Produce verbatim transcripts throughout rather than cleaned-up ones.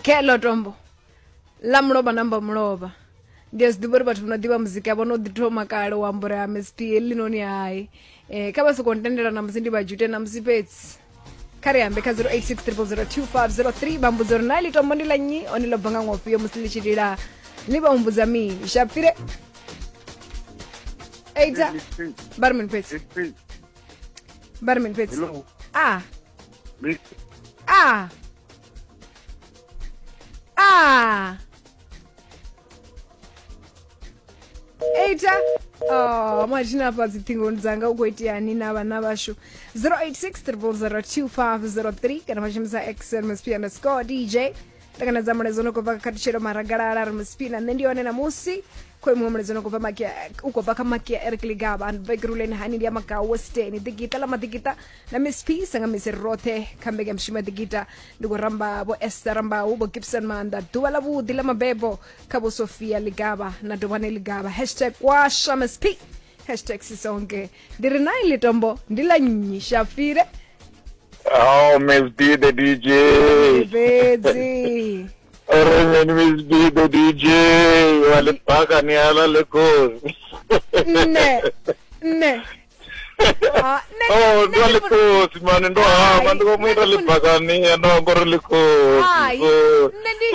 Kelo tombo la mulovha namba mulovha ndi a zwi ḓivha uri vhathu vho no ḓivha muzika vho no ḓi thoma kale u amba uri ha Miss P heḽinoni hai. Eh, kha vha soko ntendela na musi ndi vha jute na musi fhedzi kha ri ambe kha zero eight six triple zero two five zero three vha mbudza uri na ḽi tombo ndi ḽa nnyi hone ḽo bva nga ṅwaha ufhio musi ḽi tshi lila ḽi vha humbudza mini. Shapfire eita vha ri mini fhedzi vha ri mini fhedzi a a a eita oh mathina afha dziṱhingoni dzanga u khou iteani na vhana vhashu. Zero eight six triple zero two five zero three kana vha shumisa X M S P underscore D J. Ṱanganedza mulaedza no khou bva kha khathutshelo maragalala ri Miss P na nṋe ndi hone namusi khoi muṅwe mulaedza no khou bva makia u khou bva kha makia Eric Ligaba and Begruleni hani ndi ya Magau Western ḓigita ḽa maḓigita na Miss P sanga misi roṱhe kha mbekanyamushumo ya ḓigita ndi khou ramba vho Esther Rambau vho Gibson Maanḓa ḓuvha ḽa vhuḓi ḽa mabebo kha vho Sophia Ligaba na Dovhane Ligaba hashtag kwasha Miss P hashtag sisonke. Ndi ri na iḽi tombo ndi ḽa nnyi Shafire? Oh, Miss B the D J. Fhedzi Remen Miss B the D J. Wa le baka ni ala le kosi. Nne nne Ah, nne Oh, nne ndo le ndi funa- kosi man, ndo hama ndi mu ita Nṋe le ndi funa- baka ni ndo ngori le kosi. Hai, So nṋe ndi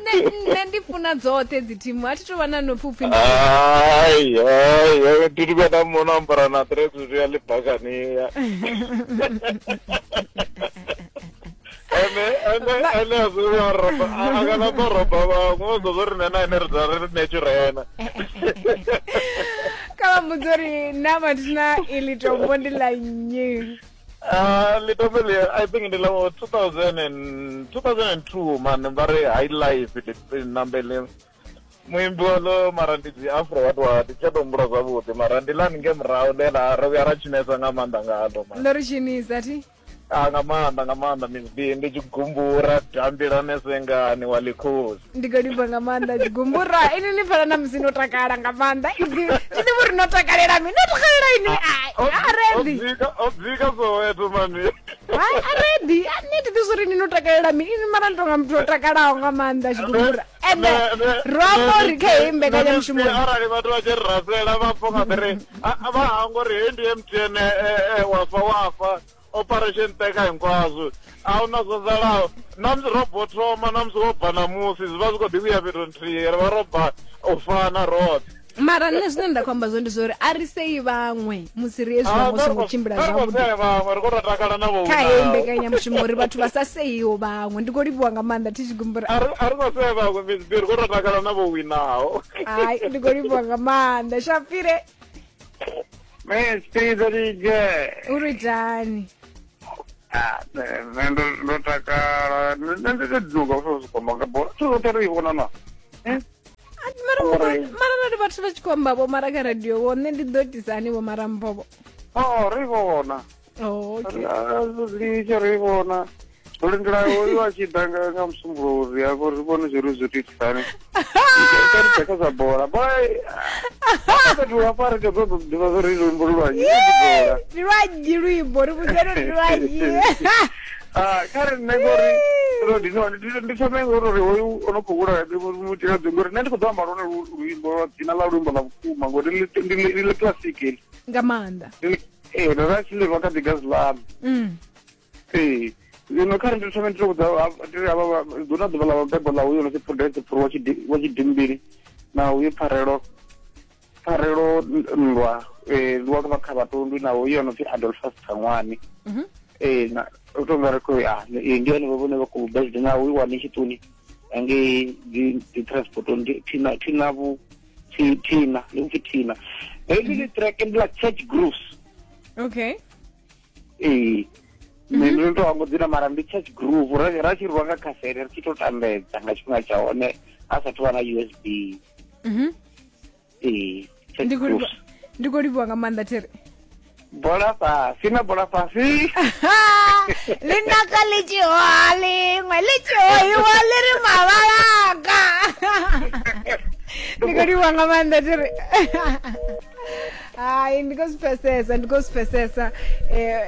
nṋe nṋe ndi funa dzoṱhe dzi thimu a thi tou vha na no pfhi upfhi ndi Ai, ai, ai, ndi ndi na mona ambara na tracksuit ya le baka ni. Ene ene ene a zwi ya roba a kana ba roba vhaṅwe o ḓo ri nṋe na ene ri dza ri naturena. Kha vha mbudza uri na mathina iḽi tombo ndi ḽa nnyi. Ah, litombo ḽi I think ndi ḽa two thousand and two thousand and two man, vha ri High Life ndi namba ḽi muimbi waḽo mara ndi dzi afro what what tsha to humbula zwavhuḓi mara ndi ḽa nge murahu ḽe ḽa ro vhuya ra tshinesa nga maanḓa ngaḽo man. Ndo ri tshinisa thi. Ah, nga maanḓa nga maanḓa Miss B, ndi tshi gumbura dambilane sengani wa ḽikhosi. Ndi khou livha nga maanḓa tshigumbura ini ni pfala na musi no takala nga maanḓa thi ḓivhi uri no takalela mini, no takalela ini a ready. O dzika Soweto mani. Hai, a ready a nṋe thi ḓivhi uri ni no takalela mini ini mara ni tonga muthu o takalaho nga maanḓa tshigumbura ende ro amba uri kha heyi mbekanyamushumo Arali vhathu vha tshi ri rasela vha pfa nga ri vha hangwa uri heyi ndi M T N wafa wafa operation teka hinkwaswo a huna zwo salaho na musi ro bo thoma na musi wo bva namusi zwi vha zwi khou ḓi vhuya fhethu nthihi ri vha ro bva u fana roṱhe. Mara nṋe zwine nda khou amba zwone ndi zwa uri a ri sei vhaṅwe musi ri hezwi vhaṅwe songo tshimbila ri khou zwavhuḓi sea vhaṅwe ri khou tou takala na vho kha heyi mbekanyamushumo uri vhathu vha sa seiho vhaṅwe. Ndi khou livhuwa nga maanḓa thi tshigumbura. A ri a ri khou sea vhaṅwe Miss B, ri khou tou takala na vho winaho. Hai, ndi khou livhuwa nga maanḓa Shafire. Miss P the D J. Uri itani? Ah, nṋe ndo ndo takala nṋe ndi tou duga u sokou nga bola zwithu zwoṱhe ri i vhona na. Eh? A- mara Uri- mara arali vhathu vha tshi khou amba vho mara kha radio vho nṋe ndi ḓo itisani vho marambovo? Oh, ri vhona. Oh, okay. Litsho ri vhona ro lindela oyo a tshi ḓa nga nga musumbulowo uri afho ri vhone zwo ri zwo tou itisani ri kha zwa bola bola fhethu hafha ri ḓo ḓivha zwo ri luimbo lu lwa nnyi bola. Ndi lwa nnyi luimbo ri vhudzeni uri ndi lwa nnyi. Ah, kha ri nṋe ngori ro ndi ndi ndi thome ngori hoyu o no khou vhulaya mutshikadzi ngori nṋe ndi khou ḓo amba lwone lu- luimbo lwa dzina ḽa luimbo ḽa vhukuma ngori ndi ndi ndi ḽi classic heḽi. Nga maanḓa. Ndi ḽi- ee ndo ra tshi ḽi rwa kha ḓigazi ḽaṋu. Mm. Ee, zwino kha ri ndi thome ndi to vhudza ndi ri havha hu na ḓuvha ḽa mabebo ḽa uyo no pfi Prudence Phuru wa Tshidi- wa Tshidimbili na uyu Pfarelo Pfarelo Nndwa eh wa vha kha Vhatondwi na uyo no pfi Adolphus Thangwani. Mhm. Ee, na u tonga ri khou ya ee ndi hone vhone vha khou birthday na uyu wa Nishituni ngei dzi dzi transport ndi thina thina vhu thi- thina ndi upfi thina heḽi ḽi track ndi ḽa Church Grooves. Okay. Ee, nṋe ndo to hangwa dzina mara ndi Church Groove ra ra tshi rwa nga khasete ri tshi to tambedza nga tshifhinga tsha hone a sathu vha na U S B. Mhm. Ee, Church Ndi khou livhuwa Grooves. Ndi khou livhuwa nga maanḓa thiri. Bola fhasi na bola fhasi. Ḽi naka ḽi tshi hoha ḽiṅwe ḽi tshi hohiwa ḽi ri mavhalanga. Ndi khou livhuwa nga maanḓa thiri. Hai, ndi khou zwi pfesesa, ndi khou zwi pfesesa.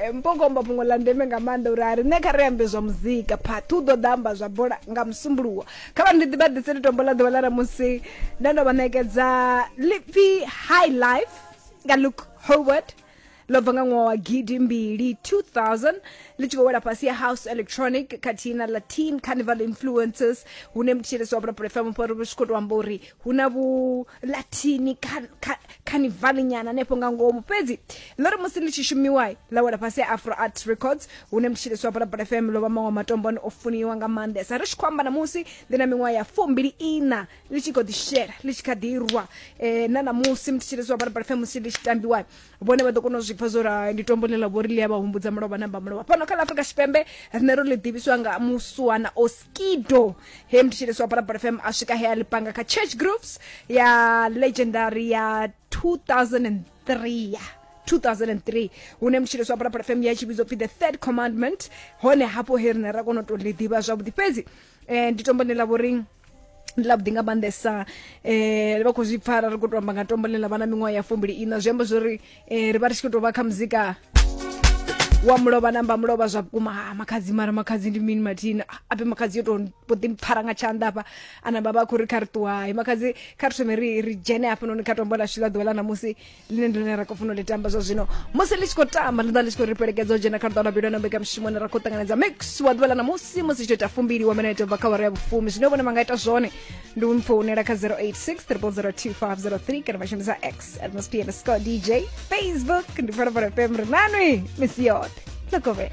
um Mpokomba fhungo ḽa ndeme nga maanḓa uri a riṋe kha ri ambe zwa muzika, phathu u ḓo ḓa amba zwa bola nga musumbuluwo. Kha vha ndi ḓi vha ḓisele tombo ḽa ḓuvha ḽa ṋamusi, nda ndo vha ṋekedza lipfi High Life nga Luke Howard, ḽo bva nga ṅwaha wa gidi mbili two thousand, ḽi tshi khou wela fhasi ya house electronic khathihi na Latin carnival influences, hune mutshilisi wa Phalaphala F M ri tshi khou tou amba uri hu na vhu Latini carnival nyana hanefho nga ngomu. Fhedzi ḽo ri musi ḽi tshi shumiwa ḽa wela fhasi ya Afro Art Records, hune mutshilisi wa Phalaphala F M ḽo vha maṅwe matombo ane o funiwa nga maanḓesa. Ri tshi khou amba namusi ḽi na miṅwaha ya fumbili ina ḽi tshi khou ḓi shela, ḽi tshi kha ḓi rwa um na namusi mutshilisi wa Phalaphala F M musi ḽi tshi tambiwa vhone vha ḓo kona u zwi pfa zwo ri ndi tombo ḽe ḽa vho ri ḽi a vha humbudza mulovha namba mulovha. Fhano kha ḽa Afrika Tshipembe riṋe ro ḽi ḓivhiswa nga musuwana Oskido, he mutshilisi wa Phalaphala F M a swika he a ḽi panga kha Church Grooves ya legendary ya two thousand three two thousand three, hune mutshilisi wa Phalaphala F M ya tshi vhidzwa pfi The Third Commandment. Hone hafho he riṋe ra kona u tou ḽi ḓivha zwavhuḓi. Fhedzi um ndi tombo ḽe ḽa vho ri ndi ḽa vhuḓi nga maanḓesa, um vha khou zwi pfara ri khou tou amba nga tombo ḽe ḽa vha na miṅwaha ya fumbili ina, zwi amba zwori um ri vha ri tshi khou tou vha kha muzika wa mulovha namba mulovha zwa vhukuma. Ha makhadzi, mara makhadzi ndi mini mathina ape makhadzi yo tou mbo ḓi mpfara nga tshanḓa hafha ana baba khou ri kha ri ṱuwa. Hai makhadzi, kha ri thome ri ri dzhene hafhanoni kha tombo ḽashu ḽa ḓuvha ḽa ṋamusi ḽine ndi ḽine ra khou funa u ḽi tamba zwa zwino. Musi ḽi tshi khou tamba ḽi ḓa ḽi tshi khou ri fhelekedza u dzhena kha luṱa lwa bilo na mbekamishumo ine ra khou ṱanganedza mix wa ḓuvha ḽa ṋamusi musi tshi tou ita fumbili wa minete ubva kha awara ya vhufumi. Zwine vhone vha nga ita zwone ndi u mpfounela kha zero eight six triple zero two five zero three kana vha shumisa X at Mospi underscore D J, Facebook ndi Phalaphala F M. Ri nanwi misi yoṱhe. Look over.